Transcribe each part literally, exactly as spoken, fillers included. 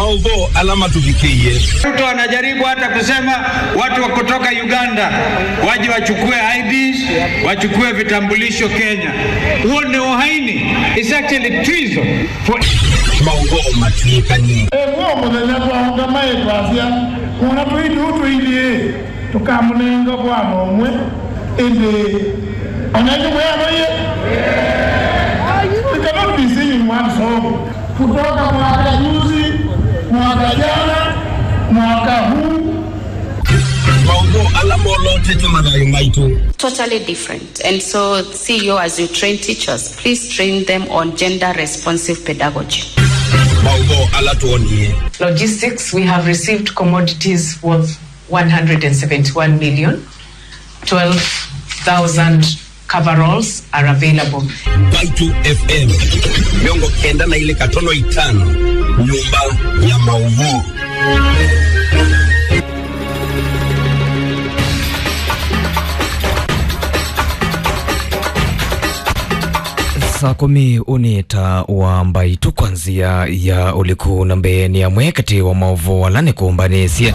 Maũvoo ala matũvikĩie. Ruto anajaribu hata kusema watu wa kutoka Uganda waje wachukue I Ds, wachukue vitambulisho Kenya. Huo ni uhaini. It's actually treason for Maũvoo matwĩkanie. Ĩmwe mũthenya twaũngama ĩtwasya, mwana tũitũ tũilyĩ. Tũkamũnenga vwana ũmwe, ĩndĩ o na ĩndĩ mwĩanaiye. It cannot be seen in one song. Kutoka mwaka juzi, mwaka jana, mwaka huu. Maũvoo ala molotete mathayũ maitũ. Totally different. And so, C E O, as you train teachers, please train them on gender responsive pedagogy. Maũvoo ala twonie. Logistics, we have received commodities worth one hundred and seventy-one million, twelve thousand coveralls are available. Mbaitũ F M, mĩongo kenda na ilĩ katono itano, nyũmba ya maũvoo. Saa kũmi ũnĩ ta wa Mbaitũ kwa nzĩa ya ũliku, na mbee nĩ amwe katĩ wa maũvoo ala nĩkũmbanĩsye.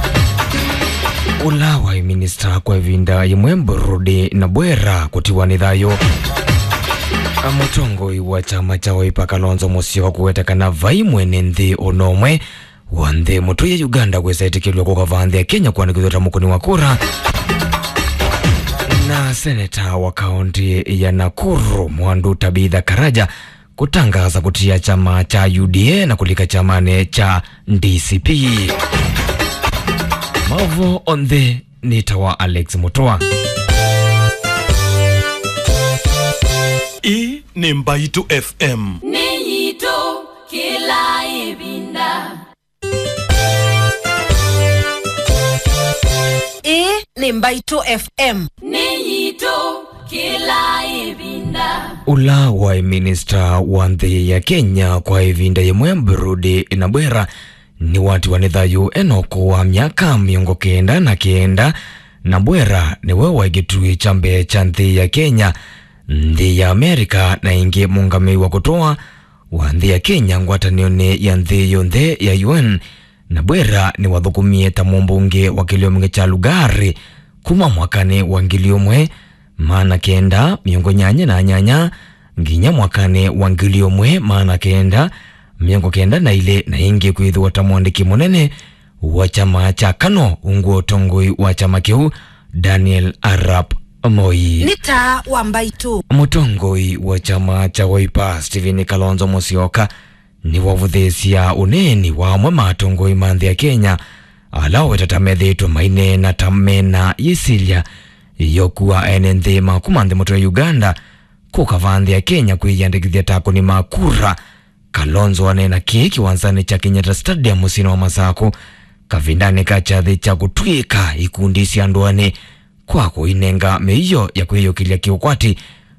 Ũla waĩ minista kwa ĩvinda yĩmwe Burudi na Bwera kũtiwa nĩ thayũ. Mũtongoi wa kyama kya Wiper Kalonzo Musyoka kũweta kana vai mwene nthĩ o na ũmwe wa nthĩ mũtũie Uganda kwĩsa ĩtĩkĩlw'a kũka vaa nthĩ ya Kenya kũandĩkĩthw'a ta mũkũni wa kura. Na seneta wa kaũntĩ ya Nakuru, Mwandu Tabitha Karaja, kũtangaasa kũtia kyama kya U D A na kũlika kyamanĩ kya D C P. Maũvoo onthe nĩ ta wa Alex Mũtũa. Ĩĩ nĩ Mbaitũ F M. Nĩ yitũ kĩla ĩvinda. Ĩĩ nĩ Mbaitũ F M. Nĩ yitũ kĩla ĩvinda. Ũla waĩ minista wa nthĩ ya Kenya kwa ĩvinda yĩmwe, Burudi na Bwera, nĩwatiwa nĩ thayũ e na ũkũũ wa myaka mĩongo kenda na kenda, na Bwera nĩwe waĩ kĩtuĩ kya mbee kya nthĩ ya Kenya, nthĩ ya Amerika, na ĩngĩ mũngamĩi wa kũtũa wa nthĩ ya Kenya ngwatanĩonĩ ya nthĩ yonthe ya U N, na Bwera nĩwathũkũmie ta mũmbunge wa kĩlĩonĩ kya Lugari kuma mwakanĩ wa ngili ũmwe maana kenda mĩongo nyanya na nyanya nginya mwakanĩ wa ngili ũmwe maana kenda mĩongo kenda na ilĩ, na ĩngĩ kwĩthĩwa ta mwandĩki mũnene wa kyama kya KANU ungu wa ũtongoi wa kyama kĩu, Daniel Arap Moi. Nĩ taa wa Mbaitũ. Mũtongoi wa kyama kya Wiper, Stephen Kalonzo Musyoka, nĩwavũthĩĩsya ũneeni wa amwe ma atongoi ma nthĩ ya Kenya, ala waweta ta methĩĩtwe maineena ta mena yĩsilya yokua ene nthĩ ma kuma nthĩ mũtwe Uganda kũka vaa nthĩ ya Kenya kwĩyĩandĩkĩthya ta akũni ma kura. Kalonzo aneena kĩĩ kĩwanzanĩ kya Kenyatta Stadium mũsyĩnĩ wa Masakũ kavindanĩ ka kyathĩ kya kũtw'ĩĩka ikundi sya ndũanĩ kwa kũinenga mĩio ya kwĩyũkĩlya kĩũkwati.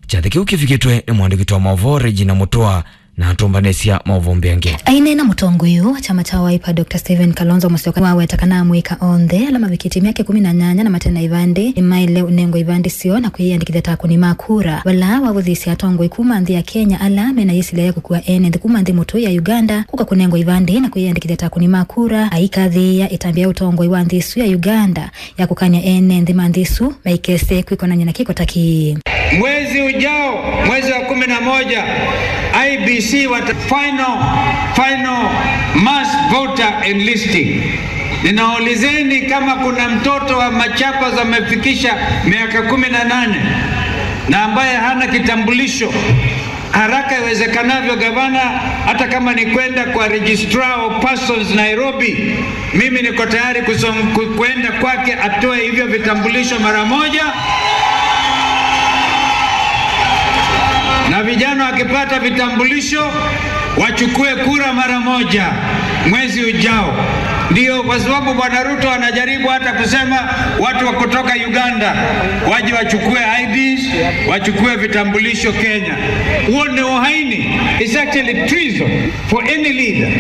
Kyathĩ kĩu kĩvikĩtwe nĩ mwandĩki wa maũvoo Regina Mũtũa na atũmbanĩsya maũvoo mbeange. Aineena mũtongoi ũũ wa kyama kya Wiper, Doctor Stephen Kalonzo Musyoka, nĩwaweta kana amũika onthe ala mavikĩtye myaka ĩkũmi na nyanya na mate na ivandĩ nĩmaĩle ũnengwa ivandĩ syoo na kwĩyĩandĩkĩthya ta akũni ma kura. Vala wavũthĩĩsya atongoi kuma nthĩ ya Kenya ala mena yĩsilya ya kũkua ene nthĩ kuma nthĩ mũtũi ya Uganda kũka kũnengwa ivandĩ na kwĩyĩandĩkĩthya ta akũni ma kura, aikathĩĩa ĩtambya ya ũtongoi wa nthĩ ĩsu ya Uganda ya kũkany'a ene nthĩ ma nthĩ ĩsu maikese kwĩkonany'a na kĩko ta kĩĩ. Mwezi ujao, mwezi wa kumi na moja, I E B C wata final, final mass voter enlisting. Ninaulizeni, kama kuna mtoto wa Machakos amefikisha miaka kumi na nane na ambaye hana kitambulisho, haraka iwezekanavyo, gavana, hata kama ni kwenda kwa Registrar of Persons Nairobi, mimi niko tayari kusom-, ku-, kwenda kwake atoe hivyo vitambulisho mara moja. Na vijana wakipata vitambulisho, wachukue kura mara moja mwezi ujao. Ndio, kwa sababu Bwana Ruto anajaribu hata kusema watu wa kutoka Uganda waje wachukue I Ds, wachukue vitambulisho Kenya. Huo ni uhaini. It's actually treason for any leader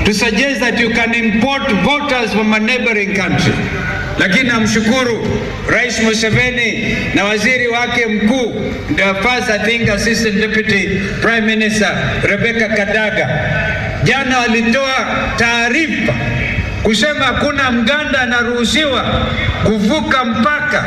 to suggest that you can import voters from a neighboring country. Lakini namshukuru Rais Museveni na waziri wake mkuu, the first, I think, Assistant Deputy Prime Minister, Rebecca Kadaga. Jana walitoa taarifa kusema hakuna Mganda anaruhusiwa kuvuka mpaka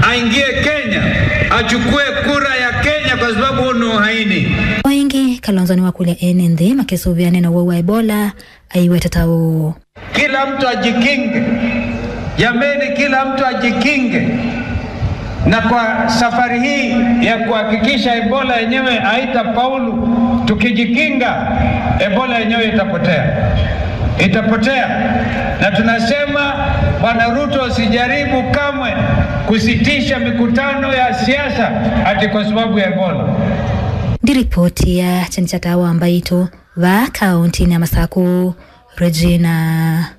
aingie Kenya, achukue kura ya Kenya kwa sababu huo ni uhaini. O ĩngĩ, Kalonzo nĩwakũlya ene nthĩ makĩsũvĩane na ũwau wa Ebola, aiweta ta ũũ. Kila mtu ajikinge. Jameni, kila mtu ajikinge. Na kwa safari hii ya kuhakikisha Ebola yenyewe haitafaulu, tukijikinga, Ebola yenyewe itapotea. Itapotea. Na tunasema, Bwana Ruto, usijaribu kamwe kusitisha mikutano ya siasa ati kwa sababu ya Ebola. Ndi ripoti ya kyeni kya Taa wa Mbaitũ vaa kaunti-inĩ ya Masaku. Regina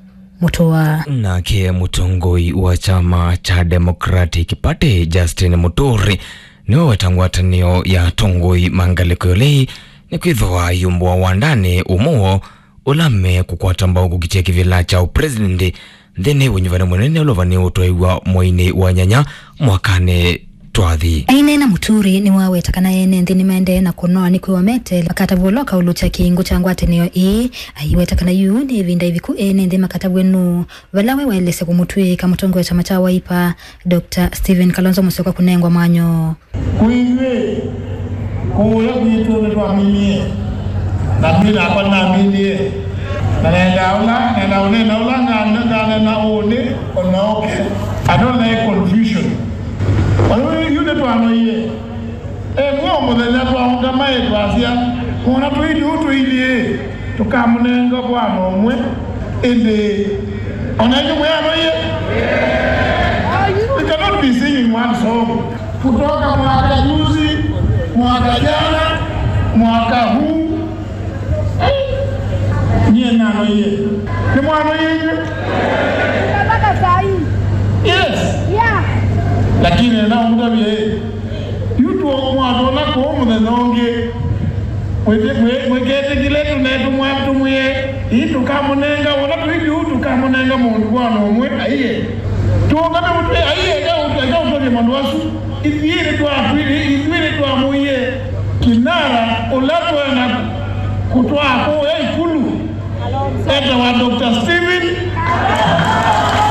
Mutua. Nake mũtongoi wa kyama kya Democratic Party, Justin Muturi, nĩwe weta ngwatanĩo ya atongoi ma ngalĩko ĩlĩ nĩkwĩthĩwa ayumbũa wandanĩ ũmwe woo ũla mekũkwata mbau kũkitĩa kĩvĩla kya ũpresident nthĩnĩ wa ũnyuvani mũnene ũla ũvanĩe ũtwaĩwa mweinĩ wa nyanya mwakanĩ twathi. Aineena, Muturi nĩwaweta kana ene nthĩ nĩmaendee na kũnoa nĩkwĩwa meteele makatavw'a ũla ũkaũlũkya kĩngũ kya ngwatanĩo ĩĩ. Aiweta kana yu nĩ ĩvinda ĩviku ene nthĩ makatavw'e nũũ, vala we waelesya kũmũtw'ĩĩka mũtongoi wa kyama kya Wiper, Doctor Stephen Kalonzo Musyoka kũnengwa mwanya ũũ. Kwĩ ithyĩ, kũũya kwitũ nĩtwaminie, na niĩ nakwa nĩnaminie, na nendaa ũla, nendaa ũneena ũla ngane-, nganeena ũnĩ, o na oke. I don't like confusion. Kwa hiyo, yu nĩtwanoie. Ĩmwe o mũthenya twaũngama ĩ twasya, mwana tũilyĩ ũũ tũilyĩ, tũkamũnenga mwana ũmwe, ĩndĩ o na ĩngĩ mwĩanoie. We cannot be singing one song. Kutoka mwaka juzi, mwaka jana, mwaka huu, nyie nanoie. Nĩ mwanoie inyuĩ? Mpaka saa hii. Yes. Yeah. Lakini nenda ũmũtavye, yu tũ mwatwona kũũ mũthenya ũngĩ. Mwĩtĩ-, mwĩ-, mwĩketĩkĩle tũnetũmwa tũmwĩe, ii tũkamũnenga, wona tũilyĩ ũũ tũkamũnenga mũndũ mwana ũmwe, aiye. Tũũngame mũtwe, aiye, eka ũtũ-, eka ũtũlye maũndũ asu. Ithyĩ nĩtwatwĩrĩ, ithyĩ nĩtwamũie Kinara ũla twenda kũtwaa kũũya Ikulu. Etawa Doctor Stephen.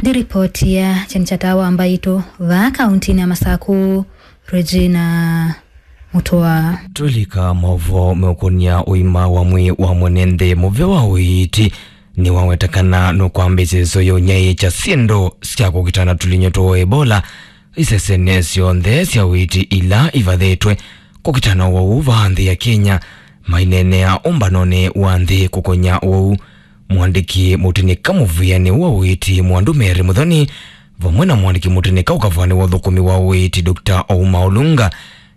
Ndi ripoti ya kyeni kya Taa wa Mbaitũ vaa kaunti-inĩ ya Masaku, Regina Mutua. Tũlika maũvoo meũkũnĩa ũima wa mwĩĩ wa mwene nthĩ, mũvĩa wa ũiiti nĩwaweta kana nũkwambĩĩsya ĩsoya ũnyaĩĩkya syĩndũ sya kũkitana tũlinyũ twa Ebola isesenĩ syonthe sya ũiiti ila ivathĩtwe kũkitana ũwau vaa nthĩ ya Kenya, maineenea ũmbanonĩ wa nthĩ kũkony'a ũwau. Mũandĩki mũtĩnĩka mũvĩanĩ wa ũiiti Mwandu Mary Muthoni vamwe na mũandĩki mũtĩnĩka ũkavani wa ũthũkũmi wa ũiiti Doctor Ouma Olunga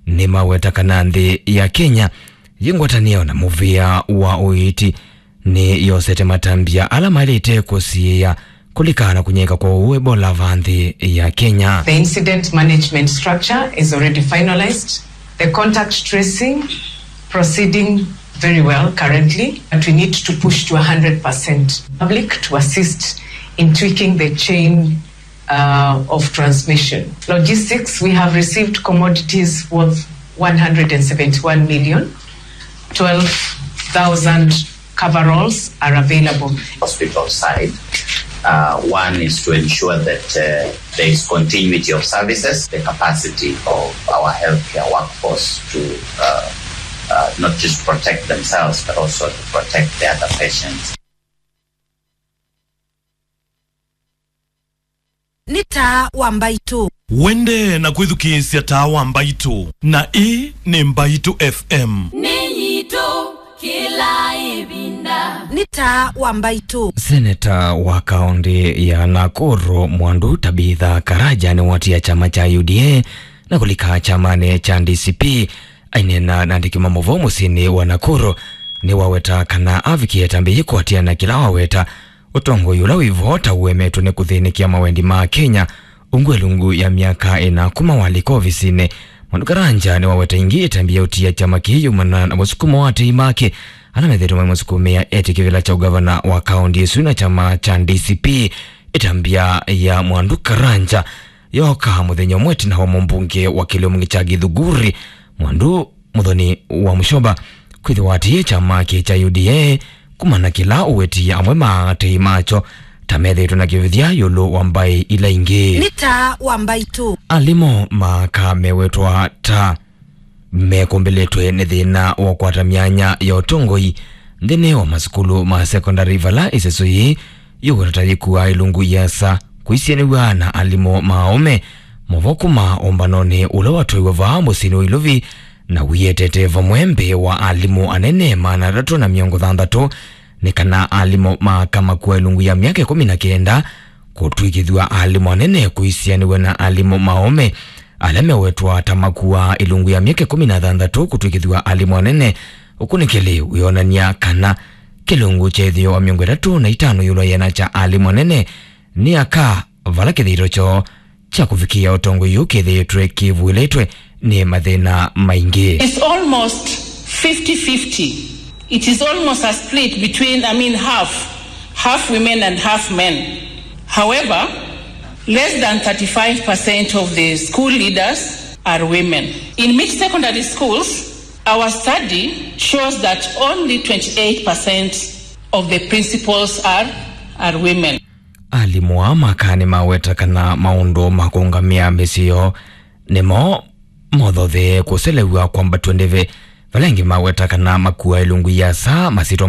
nĩmaweta kana nthĩ ya Kenya yĩ ngwatanĩo na mũvĩa wa ũiiti nĩyosete matambya ala maĩlĩte kũsiĩĩa kũlikana na kũnyaĩĩka kwa ũwau Ebola vaa nthĩ ya Kenya. The incident management structure is already finalized. The contact tracing proceeding very well currently, but we need to push to one hundred percent public to assist in tweaking the chain uh, of transmission. Logistics, we have received commodities worth one hundred and seventy-one million. Twelve thousand coveralls are available. Hospital side, uh, one is to ensure that, uh, there is continuity of services, the capacity of our healthcare workforce to, uh, uh, not just protect themselves, but also to protect the other patients. Nĩ Taa wa Mbaitũ. Wendee na kwĩthukĩĩsya Taa wa Mbaitũ, na ĩĩ nĩ Mbaitũ F M. Nĩ yitũ kĩla ĩvinda. Nĩ Taa wa Mbaitũ. Seneta wa kaũntĩ ya Nakuru, Mwandu Tabitha Karaja, nĩwatia kyama kya U D A na kũlika kyamanĩ kya D C P. Aineena na andĩki ma maũvoo mũsyĩnĩ wa Nakuru, nĩwaweta kana avikie ĩtambya yĩĩ kũatĩĩa na kĩla waweta ũtongoi ũla wĩ vo ta ũemetwe nĩ kũthĩnĩkĩa mawendi ma Akenya ungu ĩlungu ya myaka ĩna kuma walika ovisinĩ. Mwandu Karanja nĩwaweta ĩngĩ ĩtambya ya ũtia kyama kĩĩ yumana na mũsukumo wa atei make ala methĩĩtwe mamũsukumĩa etĩe kĩvĩla kya ũgavana wa kaũntĩ ĩsu na kyama kya D C P. Ĩtambya ya Mwandu Karanja yooka mũthenya ũmwe ĩtina wa mũmbunge wa kĩlĩonĩ kya Gĩthunguri, Mwandu Muthoni wa Musyoka, kwĩthĩwa atĩĩe kyama kĩĩ kya U D A kumana na kĩla ũweti amwe ma atei makyo ta methĩĩtwe na kĩvĩthya ĩũlũ wa mbaĩ ila ingĩ. Nĩ ta wa mbaitũ. Alimũ ma aka mewetwa ta mekũmbĩlĩtwe nĩ thĩna wa kũkwata myanya ya ũtongoi nthĩnĩ wa masukulu ma sekondalĩ, vala ĩseso yĩĩ yũkwĩtwa ta yĩkuaa ĩlungu ĩasa kũisianĩw'a na alimũ ma aũme. Mavo kuma ũmbanonĩ ũla watwaiwe vaa mũsyĩnĩ wa Ilovi na wĩetete vamwe mbee wa alimũ anene maana atatũ na mĩongo thanthatũ nĩ kana alimũ ma aka makuaa ĩlungu ya myaka ĩkũmi na kenda kũtw'ĩkĩthw'a alimũ anene kũisianĩw'a na alimũ ma aũme ala mewetwa ta makuaa ĩlungu ya myaka ĩkũmi na thanthatũ kũtw'ĩkĩthw'a alimũ anene. Ũkũnĩkĩli wĩonany'a kana kĩlungu kya ĩtheo wa mĩongo ĩtatũ na itano ĩũlũ wa ĩana kya alimũ anene nĩ aka, vala kĩthito kyoo kya kũvikĩa ũtongoi ũũ kĩthĩĩtwe kĩvũĩlĩtwe nĩ mathĩna maingĩ. It's almost fifty fifty. It is almost a split between, I mean, half, half women and half men. However, less than thirty-five percent of the school leaders are women. In mixed secondary schools, our study shows that only twenty-eight percent of the principals are, are women. Alimũ aa ma aka nĩmaweta kana maũndũ ma kũũngamĩa mĩsyĩ yoo nĩmo mothothee kũselew'a kwambatw'a ndĩvi, vala angĩ maweta kana makuaa ĩlungu ĩasa masyĩtwa